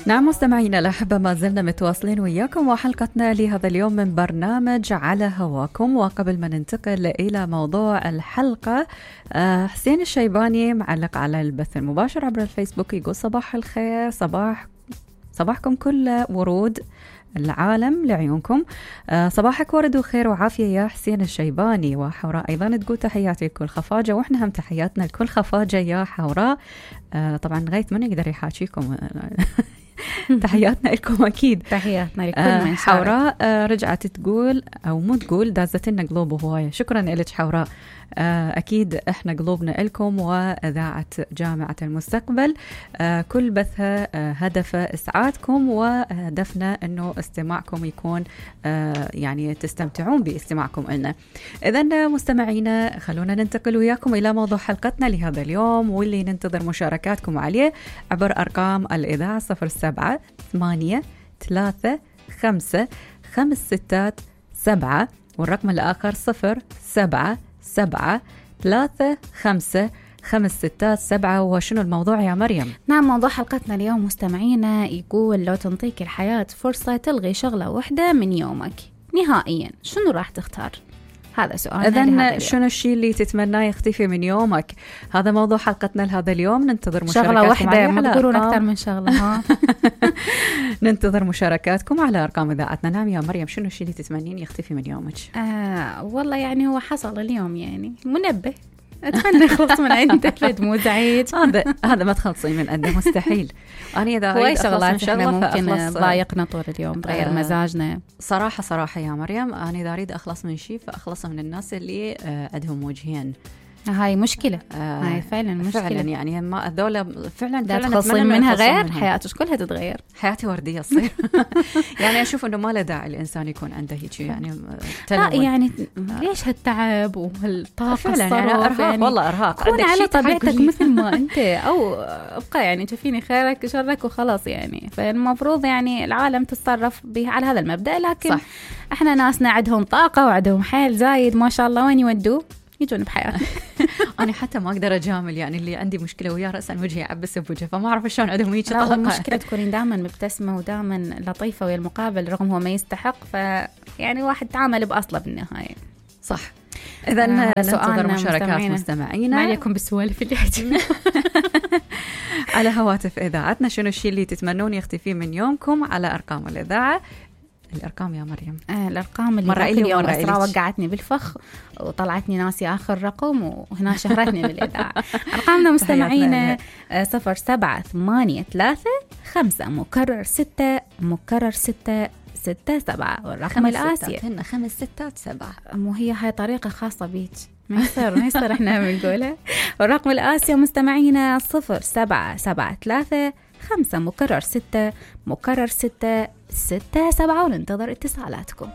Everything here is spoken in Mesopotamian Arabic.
نعم مستمعينا الأحبة، ما زلنا متواصلين وياكم وحلقتنا لهذا اليوم من برنامج على هواكم. وقبل ما ننتقل إلى موضوع الحلقة، حسين الشيباني معلق على البث المباشر عبر الفيسبوك يقول: صباح الخير، صباحكم كل ورود العالم لعيونكم. صباحك ورد وخير وعافية يا حسين الشيباني. وحوراء أيضا تقول: تحياتي لكل خفاجة، وإحنا هم تحياتنا لكل خفاجة يا حوراء. طبعا غيث من يقدر يحاكيكم تحياتنا لكم أكيد. تحياتنا لكل من حوراء رجعت تقول أو مو تقول دازت لنا قلوب هواية. شكرا لك حوراء. أكيد إحنا قلوبنا لكم وإذاعة جامعة المستقبل كل بثها هدف إسعادكم، وهدفنا أنه استماعكم يكون يعني تستمتعون باستماعكم لنا. إذن مستمعينا خلونا ننتقل وياكم إلى موضوع حلقتنا لهذا اليوم، واللي ننتظر مشاركاتكم عليه عبر أرقام الإذاعة 07-8-3-5-5-6-7 والرقم الآخر 07-7-3-5-5-6-7. وشنو الموضوع يا مريم؟ نعم، موضوع حلقتنا اليوم مستمعينا يقول: لو تنطيك الحياة فرصة تلغي شغلة واحدة من يومك نهائيا، شنو راح تختار؟ هذا سؤال. إذن شنو الشيء اللي تتمناه يختفي من يومك؟ هذا موضوع حلقتنا لهذا اليوم. ننتظر مشاركاتكم. شغلة واحدة، ما تقولون أكثر من شغلة ها. ننتظر مشاركاتكم على أرقام إذاعتنا. نعم يا مريم، شنو الشيء اللي تتمنين يختفي من يومك؟ والله يعني هو حصل اليوم، يعني منبه أتمنى أخلص من عنده، مزعج. هذا ما تخلصين من عنده مستحيل. أنا إذا أريد شغلات إحنا ممكن ضايقنا طول اليوم، تغير مزاجنا. صراحة يا مريم، أنا إذا أريد أخلص من شيء فأخلص من الناس اللي عندهم وجهين. هاي مشكلة. هاي فعلا مشكلة. فعلا يعني ما هذول فعلا تخلصين منها غير حياتك كلها تتغير. حياتي وردية تصير. يعني أشوف إنه ما له داعي الإنسان يكون عنده هيك يعني لا يعني ليش هالتعب وهالطاقة فعلا يعني أرهاق يعني والله أرهاق. كون على طبيعتك مثل ما أنت، أو ابقى يعني تشوفيني خيرك شرك وخلاص يعني. فالمفروض يعني العالم تتصرف على هذا المبدأ، لكن صح. إحنا ناسنا عندهم طاقة وعندهم حيل زايد ما شاء الله، وين يودوا يجون بحياتي. أنا حتى ما أقدر أجامل، يعني اللي عندي مشكلة وياه رأسا وجهي يعبس بوجهه، فما أعرف شلون عندهم هيك طاقة. المشكلة تكونين دائما مبتسمة ودائما لطيفة ويا المقابل رغم هو ما يستحق، يعني واحد تعامل بأصله بالنهاية. صح. إذا ننتظر مشاركات مستمعينا. ما عليكم بالسوالف اللي عندنا على هواتف إذاعتنا. شنو الشيء اللي تتمنون يختفي من يومكم على أرقام الإذاعة؟ الأرقام يا مريم. الأرقام اللي مرة اليوم أسرع وقعتني بالفخ وطلعتني ناسي آخر رقم، وهنا شهرتني بالإذاعة. أرقامنا مستمعين 07-8-3-5-6-6-7 والرقم الآسيا. هن 5-6-7. مو هي هاي طريقة خاصة بيك، ما يصير إحنا بنقولها. والرقم الآسيا مستمعين 07-7-3-5-6-6-6-7 وننتظر اتصالاتكم.